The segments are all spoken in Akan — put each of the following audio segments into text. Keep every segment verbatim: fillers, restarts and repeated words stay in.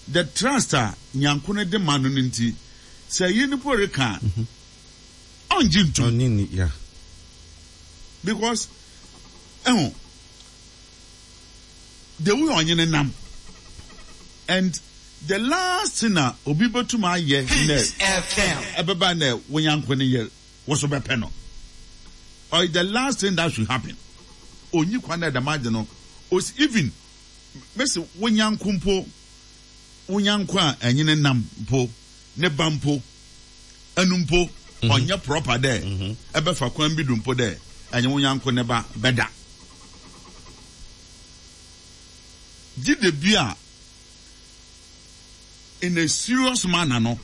The trust a nyanko no de ma no no nti, sɛ yɛ nipa reka a, ɔngye ntum. Ɔnye ni, yeah. Because ɛho the way ɔnye ne nam, and the last thing a obi bɛtum ayɛ nɛ ɛbɛba nɛ wo nyanko ne yɛ wo so bɛpɛ no, or the last thing that should happen, onyi kwan dɛ dɛm agye no osi. Even mesi wo nyanko mpo, wo nyanko a ɛnye ne nam mpo, ne ba mpo, ɛnu mpo ɔnyɛ proper dɛ ɛbɛfa kwan bi do mpo dɛ ɛnye wo nyanko ne ba bɛda gye de bi a in a serious manner no,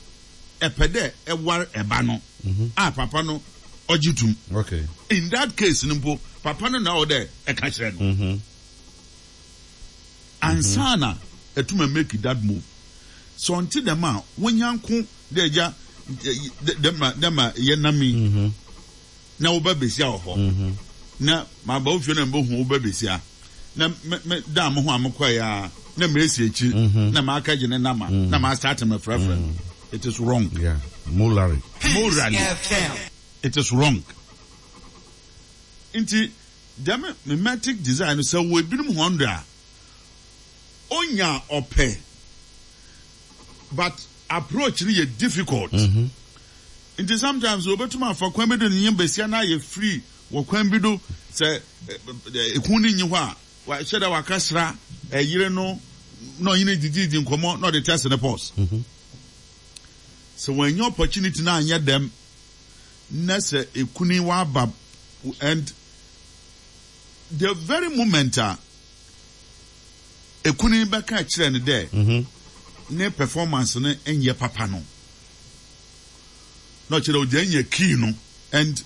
ɛpɛ dɛ ɛwar ɛba no a, papa no ɔgye tum. Okay. In that case no mpo, papa no na ɔwɔ dɛ ɛka kyerɛ no Mm-hmm. ansa na ɛtuma make that move. Sɛ ɔnte dɛm a, wɔnyanko dɛ agya dɛma dɛma yɛ nam yi Mm-hmm. na woba besia wɔ hɔ Mm-hmm. na maba wo fie na mbɛhu wo ba besia na me me da mo ho a mekɔɛ a na mesi akyi Mhm. na maaka gye ne nama na ma start me frɛfrɛ no, it is wrong. Yeah. Morally. Morally it is wrong. Nti dɛm mimetic desire no, sɛ wɔ ebinom hɔn do a, onya ɔpɛ, but approach no yɛ difficult. Mm-hmm. Nti sometimes obetumi afa kwan bi do ne nyɛ besia na ayɛ free wɔ kwan bi do sɛ ekun ne nyi hɔ a, wahyɛ dɛ wakasra ɛyere no na ɔnye ne dididi nkɔmɔ na ɔde test ne pulse. Mm-hmm. Sɛ wɔanya opportunity na anyɛ dɛm na sɛ ekuni waba, and the very moment a ekuni bɛka kyerɛ no dɛ Mm-hmm. ne performance no nyɛ papa no, na ɔkyerɛ dɛ ɔgya nya key no. And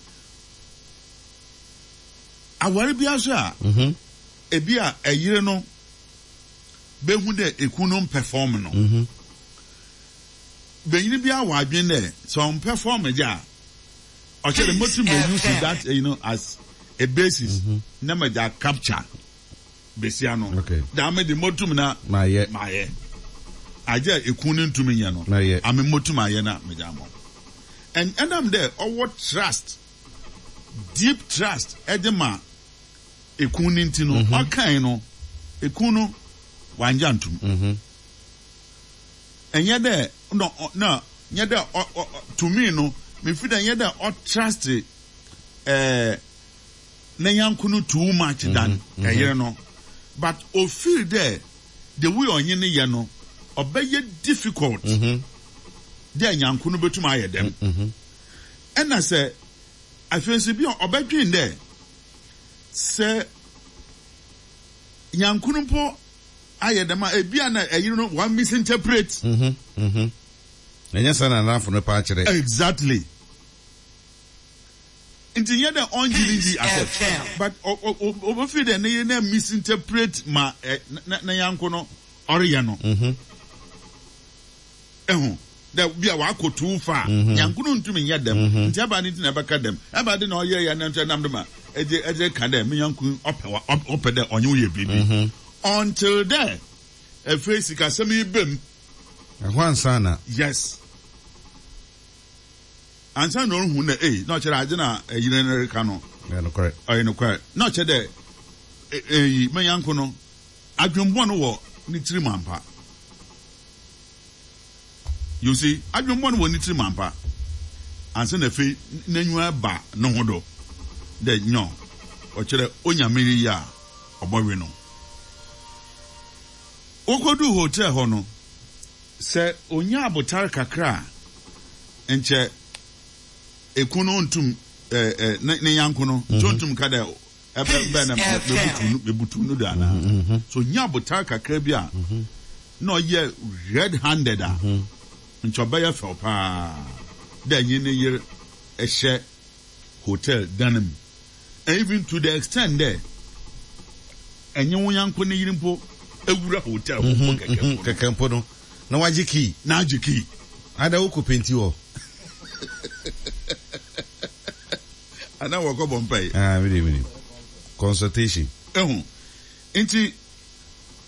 aware bi aso a, Mm-hmm. ebi a ɛyere no bɛhu dɛ ekun no perform no, Mm-hmm. bɛnyini bi awɔ adwene dɛ sɛ ɔn perform gya a, ɔkyerɛ dɛ motum bɛ use that you know, as a basis na ma gya capture besia no. Okay. Daa de motum na Mayɛ. Mayɛ agye a ekun no ntumi nyɛ no. Mayɛ. Ame motum ayɛ na megya ama wo. And ɛnam dɛ ɔwɔ trust, deep trust ɛde ma ekun no nti no, ɔkan no, ekun no wangya ntum. Mm-hmm. Ɛnyɛ dɛ no na nyɛ dɛ ɔ ɔ to me no, mefi dɛ nyɛ dɛ ɔtrust ɛɛ ne yanko no too much than ɛyere no, but ofeel dɛ the way ɔnye ne yɛ no, ɔbɛyɛ difficult Mm-hmm. dɛ nyanko no bɛtum ayɛ dɛm. Mm-hmm. Ɛna sɛ afei nso bi a ɔbɛdwen dɛ sɛ nyanko no mpo ayɛ dɛm a, ebi a na ɛyere no one misinterpret. Mm-hmm. Mm-hmm. Ɛnyɛ sɛ na n'afo no pa akyerɛ. Exactly. Nti nyɛ dɛ ɔngye ne di asɛ, but ɔbɛfi dɛ ne yere na misinterpret ma ɛ na ne yanko no ɔreyɛ no. Mm-hmm. Ɛho dɛ bi a wakɔ too far, yanko no ntumi nyɛ dɛm. Nti ɛba ne ti na ɛbɛka dɛm, ɛba de na ɔyɛ yɛ ne nso ɛnam de ma ɛgye ɛgye ka dɛ me yanko ɔpɛ wa ɔpɛ dɛ ɔnye wo yɛ biribi until dɛ afei sikasɛm yi bɛm. Ɛhɔ ansa na. Yes, ansa na ɔrehu na ee na ɔkyerɛ agye na ɛyere no reka no. Ɛyɛ nokorɛ. Ɔyɛ nokorɛ na ɔkyerɛ dɛ eyi me yanko no adwembɔ no wɔ ne tirim ampa. You see, adwembɔ no wɔ ne tirim ampa ansa na afei n'enyiwa ba ne ho do dɛ nyɔ ɔkyerɛ onyame yi a ɔbɔwe no. Wokɔdu hotel hɔ no, sɛ onya abotare kakra a, nkyɛ eku no ntum ɛɛ ɛ ne ne yanko no nkyɛ ntum ka dɛ ɛbɛ bɛn na mebutu no mebutu no do ana. So onya abotare kakra bi a na ɔyɛ red handed a, nkyɛ ɔbɛyɛ fɛw paa dɛ nye ne yer ɛhyɛ hotel dan mu, and even to the extent dɛ ɛnye wo yanko ne yere mpo ewura hotel hɔ mpo kɛkɛ mpo no. Kɛkɛ mpo no na wagye key. Na agye key. Ada wokɔ penti hɔ. Ana wɔkɔ bɔ mpa yi. Ah, mi de mi de consultation. Ehu nti